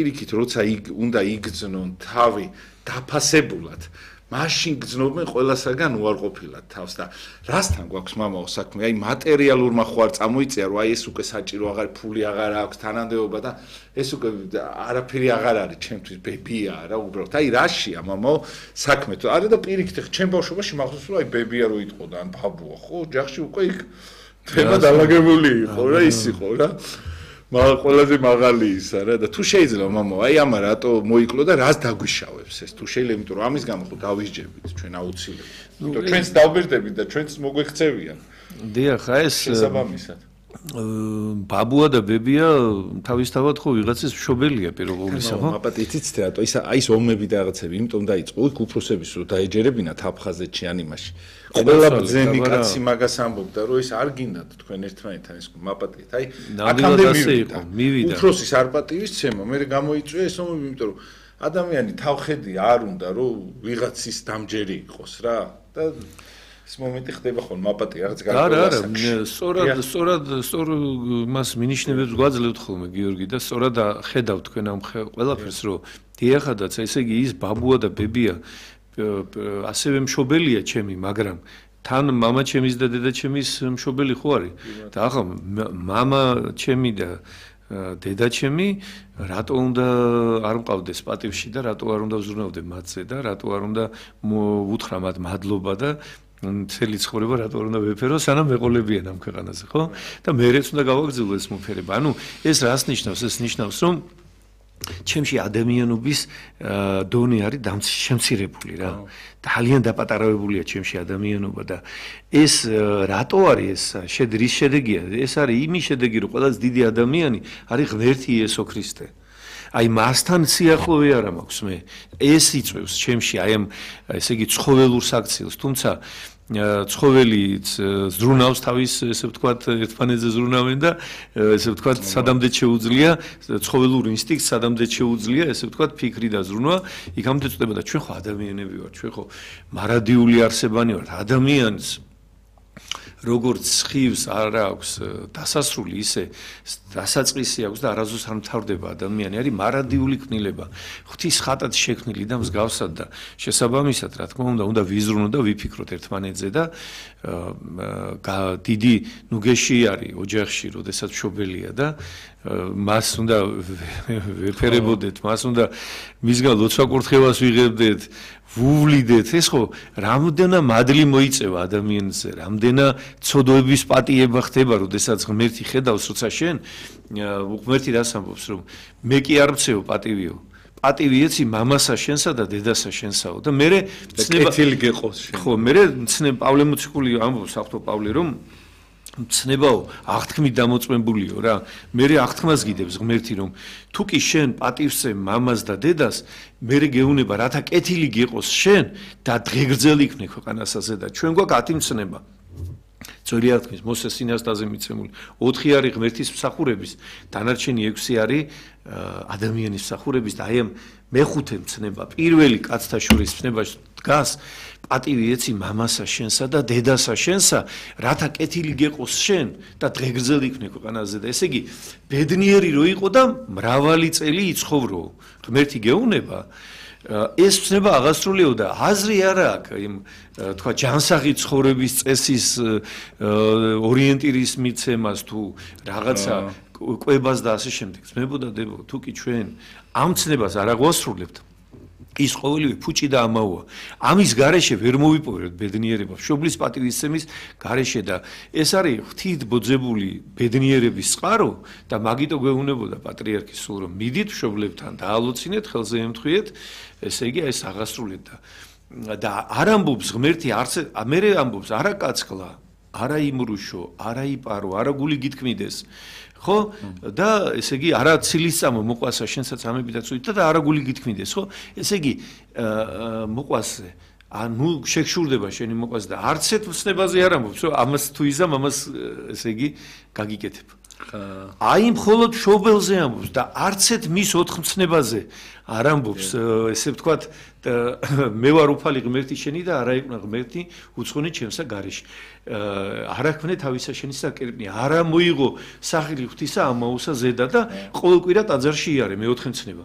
პირიქით როცა უნდა იგრძნონ თავი დაფასებულად მაშინ გძნობენ ყველასაგან უარყოფილად თავს და რასთან გვაქვს მამაო საქმე აი მატერიალურმა ხო არ წამოიწია რომ აი ეს უკვე საჭირო აღარ ფული აღარ აქვს თანამდებობა და ეს უკვე არაფერი აღარ არის ჩემთვის ბებია რა უბრალოდ აი რაშია მამაო საქმე თუ არა და პირიქით ჩემ ბავშვობაში მახსოვს რომ აი ბებია რო იტყო და ან ბაბუა ხო ოჯახში უკვე იქ თემა დაალაგებული იყო რა ის იყო რა ყველაზე მაღალი ისა რა და თუ შეიძლება მამაო აი ამა რატო მოიკლო და რას დაგვიშავებს ეს თუ შეიძლება იმიტომ რომ ამის გამო ხო დავისჯებით ჩვენ აუცილებლად იმიტომ ჩვენც დავბერდებით და ჩვენც მოგვექცევიან დიახ აი ეს შესაბამისად ბაბუა და ბებია თავისთავად ხო ვიღაცის მშობელია პირველობისა ხო მაპატიცით რატო ისა აი ეს ომები და რაღაცები იმიტომ დაიწყო იქ უფროსების რო დაეჯერებინათ აფხაზეთში ან იმაში ყველა ბძენი კაცი მაგას ამბობდა რომ ეს არ გინდათ თქვენ ერთმანეთთან ეს მაპატიეთ აი აქამდე მივიდა უფროსის არ პატივისცემა მე გამოიწვია ეს ომები იმიტომ რომ ადამიანი თავხედი არ უნდა რომ ვიღაცის დამჯერი იყოს რა და ეს მომენტი ხდება ხოლმე მაპატი რაღაც გარკვეულ სწორად მას მინიშნებებს გვაძლევთ ხოლმე გიორგი და სწორად ხედავთ თქვენ ამ ყველაფერს რომ დიახადაც ესე იგი ის ბაბუა და ბებია ასევე მშობელია ჩემი მაგრამ თან მამა ჩემის და დედა ჩემის მშობელი ხო არის და ახლა მამა ჩემი და დედა ჩემი რატო უნდა არ მყავდეს პატივში და რატო არ უნდა ვზრუნავდე მათზე და რატო არ უნდა უთხრა მათ მადლობა და მთელი ცხოვრება რატო არ უნდა ვეფერო სანამ მეყოლებიან ამ ქვეყანაზე ხო და მერეც უნდა გავაგრძელო ეს მოფერება ანუ ეს რას ნიშნავს ეს ნიშნავს რომ ჩემში ადამიანობის დონე არის შემცირებული რა ძალიან დაპატარავებულია ჩემში ადამიანობა და ეს რატო არის ეს რის შედეგია ეს არის იმის შედეგი რომ ყველაზე დიდი ადამიანი არის ღმერთი იესო ქრისტე აი მასთან სიახლოვე არ მაქვს მე ეს იწევს ჩემში აი ამ ესე იგი ცხოველურ საქციელს თუმცა ცხოველი ზრუნავს თავის ესე ვთქვათ ერთმანეთზე ზრუნავენ და ესე ვთქვათ სადამდე შეუძლია ცხოველურ ინსტინქტს სადამდე შეუძლია ესე ვთქვათ ფიქრი და ზრუნვა იქამდე წდება და ჩვენ ხო ადამიანები ვართ ჩვენ ხო მარადიული არსებანი ვართ ადამიანს როგორც ხივს არ აქვს დასასრული ისე დასაწყისი აქვს და არასდროს არ მთავრდება ადამიანი არის მარადიული კნილება ღვთის ხატად შექმნილი და მსგავსად და შესაბამისად რა თქმა უნდა ვიზრუნოთ და ვიფიქროთ ერთმანეთზე და დიდი ნუგეში არის ოჯახში როდესაც მშობელია და მას უნდა ვეფერებოდეთ მას უნდა მისგან ლოცვა-კურთხევას ვიღებდეთ ვუვლიდეთ ეს ხო რამდენა მადლი მოიწევა ადამიანზე რამდენა ცოდოების პატიება ხდება როდესაც ღმერთი ხედავს როცა შენ ღმერთი რას ამბობს რომ მე კი არ მცევ პატივიო პატივი ეცი მამასა შენსა და დედასა შენსაო და მე კეთილი გეყოს შენ ხო მე პავლე მოციქული ამბობს ახთო პავლე რომ ცნებაო აღთქმით დამოწმებულიო რა მე აღთქმას გიდებს ღმერთი რომ თუ კი შენ პატივსე მამას და დედას მე გეუნება რათა კეთილი გიყოს შენ და დღეგრძელი იქნე ქვეყანასაზე და ჩვენ გვაქვს 10 მცნება ძველი აღთქმის მოსეს სინასტაზე მიცემული 4 არის ღმერთის მსახურების დანარჩენი 6 არის ადამიანის მსახურების და აი ამ მეხუთე მცნება პირველი კაცთა შორის მცნებაში დგას პატივი ეცი მამასა შენსა და დედასა შენსა რათა კეთილი გეყოს შენ და დღეგრძელი იქნე ქვეყანაზე და ესე იგი ბედნიერი რო იყო და მრავალი წელი იცხოვრო ღმერთი გეუნება ეს მცნება აღასრულიო და აზრი არა აქვს იმ თქვა ჯანსაღი ცხოვრების წესის ორიენტირის მიცემას თუ რაღაცა კვებას და ასე შემდეგ ძმებო და დებო თუ კი ჩვენ ამ მცნებას არ აღვასრულებთ ის ყოველივე ფუჭი და ამაოა ამის გარეშე ვერ მოვიპოვებთ ბედნიერება მშობლის პატივისცემის გარეშე და ეს არის ღვთით ბოძებული ბედნიერების წყარო და მაგიტო გვეუბნებოდა პატრიარქი სულ რომ მიდით მშობლებთან დაალოცინეთ ხელზე ემთხვიეთ ესე იგი ეს აღასრულეთ და არ ამბობს ღმერთი არც მე ამბობს არა კაცკლა არა იმრუშო არა იპარო არა გული გითქმიდეს ხო და ესე იგი არა ცილისწამო მოყვასა შენსაც ამებიდაც უითა და არა გული გითქმიდეს ხო ესე იგი მოყვასე ანუ შეგშურდება შენი მოყვას და არც ერთ მცნებაზე არ ამბობს რომ ამას თუ იზამ ამას ესე იგი გაგიკეთებ აი მხოლოდ მშობელზე ამბობს და არც ერთ მის 4 მცნებაზე არ ამბობს ესე ვთქვათ მე ვარ უფალი ღმერთი შენი და არა ეკუნა ღმერთი უცხონი ჩემსა გარეშე არა ქმნე თავისა შენისა კერპნი არა მოიღო სახელი ღვთისა ამაოსა ზედა და ყოველ კვირა ტაძარში იარე მე 4 მცნება